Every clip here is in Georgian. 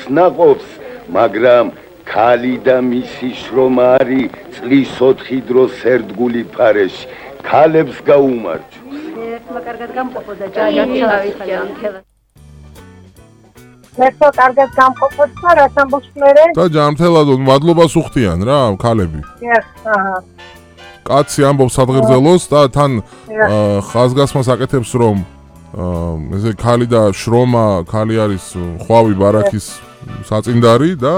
სნაყოფს, მაგრამ ქალი და მისი შრომა არის წლის 4 დროს ერთგული ფარეში. ქალებს გაუმარჯოს. ერთმა კარგად გამყოფო და ჯანმრთელად მერტო კარგად გამყოფოთ და რა სამბოს მერე? და ჯანმრთელად მადლობას უხდიან რა ქალები. აჰა. კაცი ამბობს სადღერძელოს და თან ხაზგასმას აკეთებს რომ ესე ქალი და შრომა, ქალი არის ხვავი ბარაქის საწინდარი და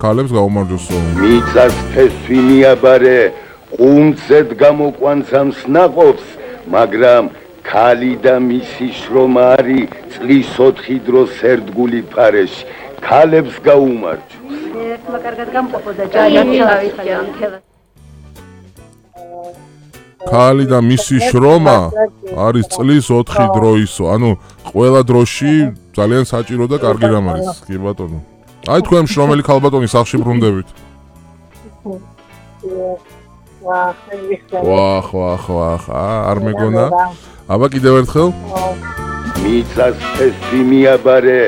ქალებს გაუმარჯოსო. მიწას ფესვი მიაბარე, ყუნწად გამოყვანს ამ სნაყოფს, მაგრამ ქალი და მისი შრომა არის წლის 4 დროს ერთგული ფარეში. ქალებს გაუმარჯოს. ერთმა კარგად გამყოფო და ჯანმრთელად ქალი და მისი შრომა არის წლის 4 დროისო. ანუ ყველა დროში ძალიან საჭირო და კარგი რამ არის. კი ბატონო. აი თქვენ შრომელი ქალბატონი სახში ბრუნდებით. ვახ, არ მეგონა. აბა კიდევ ერთხელ. მიწას ფესვი მიაბარე,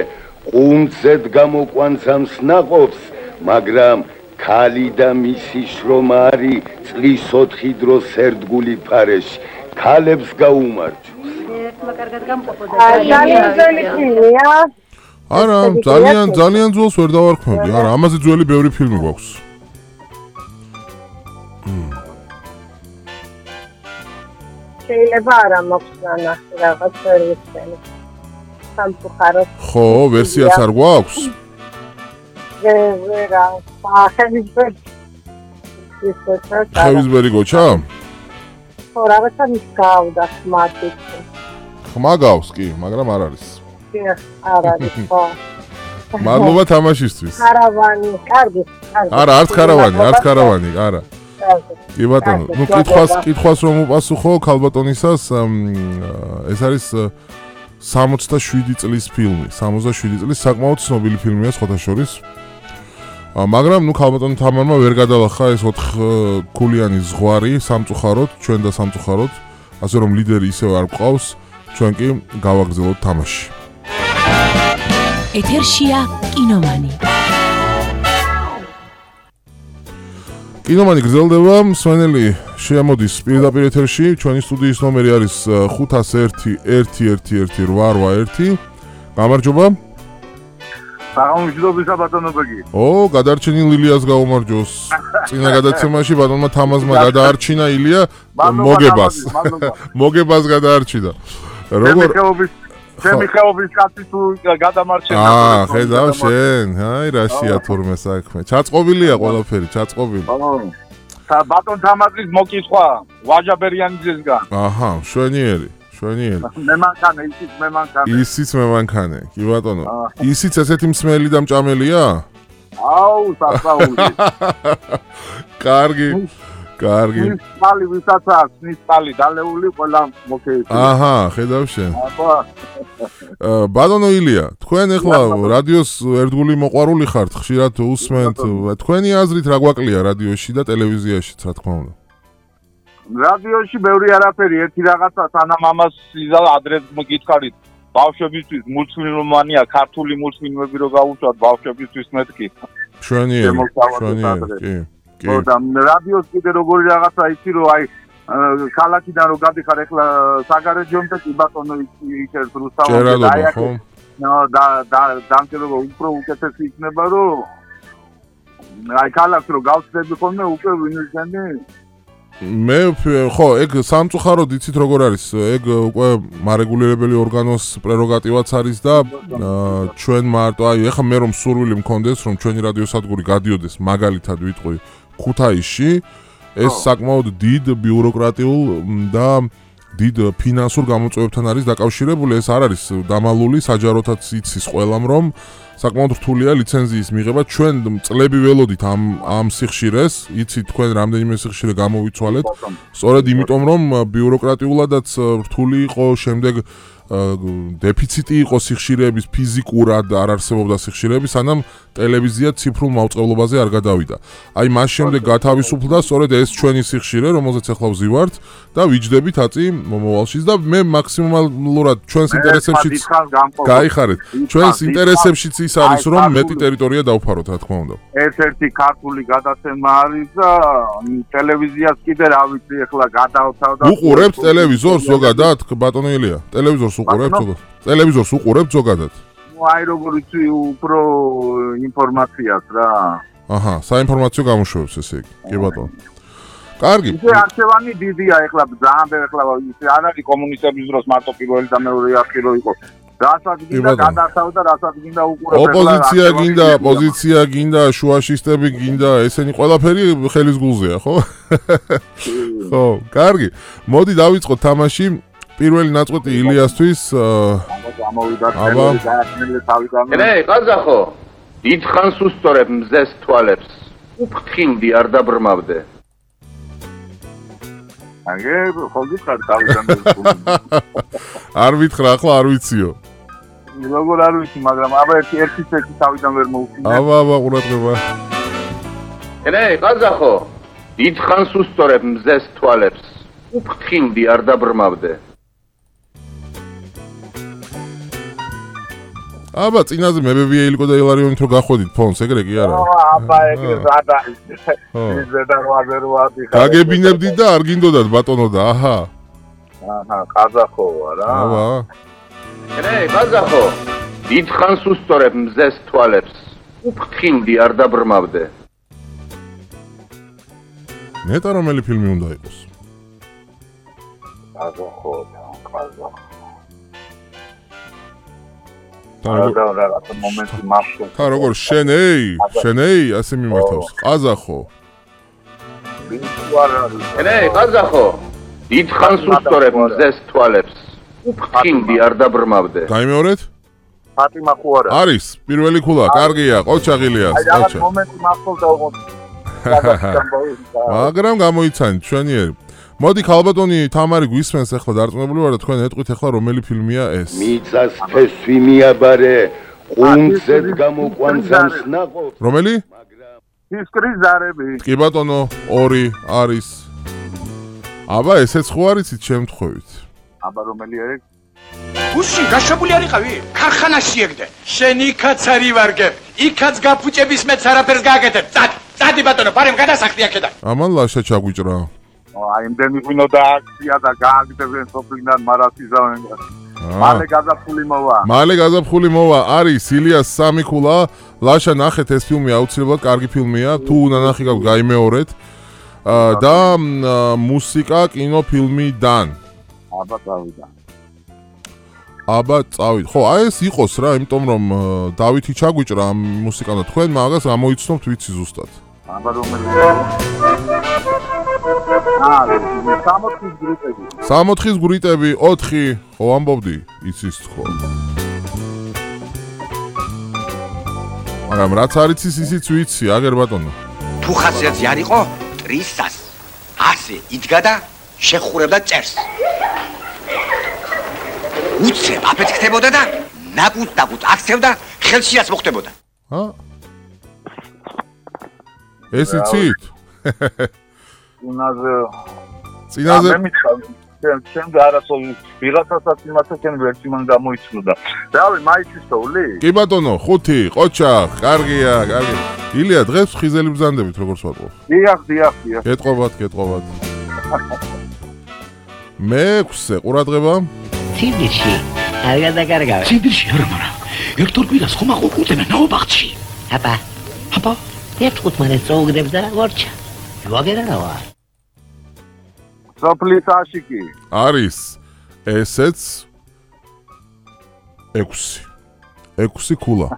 ყუნწად გამოყვანს ამ სნაყოფს, მაგრამ ქალი და მისი შრომა არის წლის 4 დროს ერთგული ფარეში. ქალებს გაუმარჯოს. ერთმა კარგად გამყოფო და ძალიან ძველი ფილმია. არა, ძალიან ძველს ვერ დავარქმევდი. არა, ამაზე ძველი ბევრი ფილმი გვაქვს. შეიძლება არა მოხსნა რაღაც სერვისები. სამწუხაროდ. ხო, ვერსიაც არ გვაქვს? ვერა, ხევისბერი გოჩა? ხო, რაღაცა მის გავდა ხმათით. ხმა გავს კი, მაგრამ არ არის. არ არის, ხო. მადლობა თამაშისთვის. კარავანი, კარგი. არა, არც კარავანი, არა. კი ბატონო, ნუ კითხვას რომ უპასუხო ქალბატონისას, ეს არის 67 წლის ფილმი, 67 წლის საკმაოდ ცნობილი ფილმია სხვათა შორის. მაგრამ ნუ ქალბატონი თამარმა ვერ გადალახა ეს 4 ქულიანი ზღვარი სამწუხაროდ, ჩვენ და სამწუხაროდ, ასე რომ ლიდერი ისევ არ გვყავს, ჩვენ კი გავაგრძელოთ თამაში. ეთერშია კინომანი. კინომანი გრძელდება, მსმენელი შეამოდის პირდაპირ ეთერში, ჩვენი სტუდიის ნომერი არის 501-111-881. გამარჯობა. საღამოშიდობისა ბატონო ბეგი. გადარჩენილ ილიას გაუმარჯოს. წინა გადაცემაში ბატონმა თამაზმა გადაარჩინა ილია მოგებას. მოგებას გადაარჩინა. როგორ ჩემი ხეობის კაცი თუ გადამარჩენა. ხედავ შენ, აი რაშია თურმე საქმე. ჩაწყობილია ყველაფერი, ჩაწყობილი. ბატონ თამაზის მოკითხვა ვაჟაბერიანიძესგან. აჰა, შვენიერი. მე მანქანე, ისიც მე მანქანე. კი ბატონო. ისიც ესეთი მსმელი და მჭამელია? აუ, სასაული. კარგი. ნისპალი ვისაც აქვს, ნისპალი დალეული ყველა მოკეითი. აჰა, ხედავ შენ. ბატონო ილია, თქვენ ახლა რადიოს ერთგული მოყვარული ხართ, ხშირად უსმენთ. თქვენი აზრით რა გვაკლია რადიოში და ტელევიზიაში, რა თქმა უნდა? რადიოში ბევრი არაფერი, ერთი რაღაცა სანამ ამას ადრეს მოგითხარით. ბავშვებისთვის მულტფილმმანია, ქართული მულტფილმები რო გავუშვათ ბავშვებისთვის მეთქი. შვენიერი, კი. და რადიოს კიდე როგორი რაღაცა იცი რომ აი ქალაქიდან რო გადიხარ ახლა საგარეჯომდე კი ბატონო იქეთ რუსთავში აი ხო დამწერლობა უფრო უკეთესი იქნება რომ აი ქალაქს რო გავწდები ხოლმე უკვე ვინირჩენი მე ხო ეგ სამწუხაროდ იცით როგორ არის ეგ უკვე მარეგულირებელი ორგანოს პრეროგატივაც არის და ჩვენ მარტო აი ეხლა მე რომ სურვილი მქონდეს რომ ჩვენი რადიოსადგური გადიოდეს მაგალითად ვიტყვი ქუთაისში ეს საკმაოდ დიდ ბიუროკრატიულ და დიდ ფინანსურ გამოწვევებთან არის დაკავშირებული ეს არ არის დამალული საჯაროთაც იცის ყველამ რომ საკმაოდ რთულია ლიცენზიის მიღება ჩვენ წლები ველოდით ამ სიხშირეს იცით თქვენ რამდენიმე სიხშირე გამოვიცვალეთ სწორედ იმიტომ რომ ბიუროკრატიულადაც რთული იყო შემდეგ დეფიციტი იყო სიხშირეების ფიზიკურად არ არსებობდა სიხშირეები სანამ ტელევიზია ციფრულ მაუწყებლობაზე არ გადავიდა. აი მას შემდეგ გათავისუფლდა სწორედ ეს ჩვენი სიხშირე, რომელზეც ახლა ვზივართ და ვიჯდებით აწი მომავალშიც და მე მაქსიმალურად ჩვენს ინტერესებშიც გაიხარეთ. ჩვენს ინტერესებშიც ის არის რომ მეტი ტერიტორია დავფაროთ რა თქმა უნდა. ერთ-ერთი ქართული გადაცემა არის და ტელევიზიას კიდე რა ვიცი ახლა გადავთავ და უყურებთ ტელევიზორს ზოგადად ბატონო ილია? ტელევიზორს უყურებთ ზოგადად? ტელევიზორს უყურებთ ზოგადად? აი როგორ იცი უფრო ინფორმაციას რა. აჰა, საინფორმაციო გამოშვებს ესე იგი. კი ბატონო. კარგი. ისე არქივანი დიდია ახლა ძალიან ბევრი ახლა ისე არ არის კომუნისტების დროს მარტო პირველი და მეორე არქივი რო იყო. რასაც გინდა გადასავ და რასაც გინდა უყურებ. ოპოზიცია გინდა, პოზიცია გინდა, შუაშისტები გინდა, ესენი ყველაფერი ხელის გულზეა, ხო? ხო, კარგი. მოდი დავიწყოთ თამაში. პირველი ნაწყვეტი ილიასთვის გამოვიდა თემური გააჩნილი თავიდან. ე, ყაზახო, დიდხანს უსწორებ მზეს თვალებს. უფრთხილდი არ დაბრმავდე. აგე, ხოლმე თავიდან. არ ვითხრა, ახლა არ ვიციო. როგორ არ ვიცი, მაგრამ აბა ერთი თავიდან ვერ მოუწინე. აბა, ყურადღება. ე, ყაზახო, დიდხანს უსწორებ მზეს თვალებს. უფრთხილდი არ დაბრმავდე. აბა, წინაზე მებებია ილიკო და ილარიონით რო გახვედით ფონს, ეგრე კი არა? აბა, ეგრე ზადა. ზედა როაზერვადი. გაგებინებდით და არ გინდოდათ ბატონო და აჰა. აჰა, ყაზახოა რა. აბა. ე, ყაზახო, დიდხანს უსწორებ მზეს თვალებს. უფრთხილდი არ დაბრმავდე. ნეტა რომელი ფილმი უნდა იყოს? ყაზახო, ყაზახო. თან როგორ შენეი ასე მიმართავს ყაზახო ე ყაზახო დიდხანს უსწორებ მზეს თვალებს უფრთხილდი არ დაბრმავდე გაიმეორეთ ფატიმა ხო არა არის პირველი ქულა კარგია ყოჩაღილიას ყოჩა მომენტი მახსოვდა უღონდ მაგრამ გამოიცანით ჩვენიერი მოდი ქალბატონი თამარი გვისმენს ახლა დარწმუნებული ვარ და თქვენ ეტყვით ახლა რომელი ფილმია ეს მიწას ფესვი მიაბარე ყუნწეთ გამოყვანცამს ნაყო რომელი ფისკრის ზარები კი ბატონო 2 არის აბა ესეც ხო არიცით შემთხვევით აბა რომელი არის უსში გაშებული არიყავი ქარხანაში ეგდე შენ იქაც არი ვარგებ იქაც გაფუჭების მეც არაფერს გააკეთებ წადი ბატონო პარემ გადასახდი აქედან ამან ლაშა ჩაგვიჭრა აი იმდენი ღვინო და აქცია და გააგდებენ სოფლიდან მარასიზავენ მალე გაზაფხული მოვა არის ილიას სამი ქულა ლაშა ნახეთ ეს ფილმი აუცილებლად კარგი ფილმია თუ ნანახი გაქვთ გაიმეორეთ და მუსიკა კინოფილმიდან აბა წავით ხო აი ეს იყოს რა იმიტომ რომ დავითი ჩაგვიჭრა ამ მუსიკამ და თქვენ მაგას გამოიცნობთ ვიცი ზუსტად აბა რომელი 60 გრიტები 4 ხო ამბობდი იცის ხო მაგრამ რაც არის ისიც ვიცი აგერ ბატონო თუ ხასიათი არ იყო ტრისას ასე იდგა და შეხურებდა წერს უცებ აფეთქდებოდა და ნაკუთ აქცევდა ხელშიაც მოხდებოდა ეს იცით წინაზე ჩემ გარასო ვიღაცასაც იმასაც ჩემ ვერცი მან გამოიცნოდა რავი მაიცის თოვლი კი ბატონო 5 ყოჩა კარგია კარგი ილია დღეს ხიზელი ბზანდებით როგორც ვატყობ დიახ გეტყობათ მე-6 ყურადღება ციდრში არ გადაგარგავ ციდრში არა მარა ერთორ კვირას ხომ აყუყუტებენ ნაობახში აბა ერთ ხუთმანე წოუგდებს და ვორჩა ვაგერავა სოფლის აშიკი არის ესეც 6 ქულა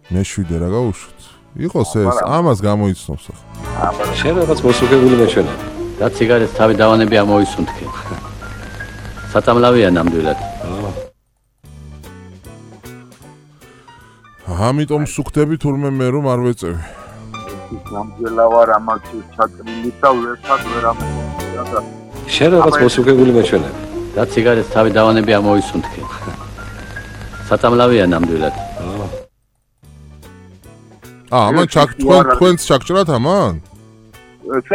მე-7 რა გაუშვით იყოს ეს ამას გამოიცნობს ახლა შენ რაღაც მოსუქებული მეჩვენა და ციგარეთს თავი დავანები ამოისუნთქე საწამლავია ნამდვილად ამიტომ სუქდები თურმე მე რომ არ ვეწევი ნამდვილად ვარ ამაში ჩატრილი და ვერცად ვერ ამოხდა და შენ რაღაც მოსუქებული მეჩვენა და ციგარეთს თავი დავანები ამოისუნთქე საწამლავია ნამდვილად ამან თქვენს ჩაგჭრათ ამან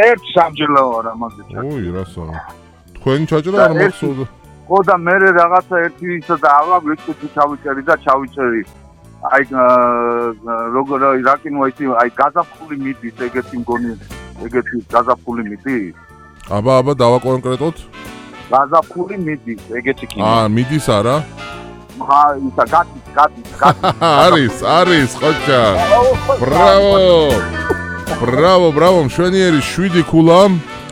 ერთ სამჯერა ვარ ამაზე ოი რასო თქვენ ჩაჭრა არ მახსოვდა ხო და მე რაღაცა ერთი ისა და აღარ ვიწყდი ჩავიჭერი და ჩავიჭერი. აი როგორ რა კინოა ისი აი გაზაფხული მიდის ეგეთი მგონი ეგეთი გაზაფხული მიდის? აბა დავაკონკრეტოთ. გაზაფხული მიდის ეგეთი კინო. მიდის არა? ისა გადის. არის ხოჭა. ბრავო, მშვენიერი 7 ქულა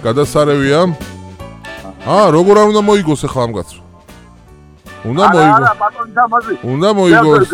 გადასარევია. როგორ არ უნდა მოიგოს ახლა ამ კაცს? უნდა მოიგოს. არა, ბატონი და მაზი. უნდა მოიგოს.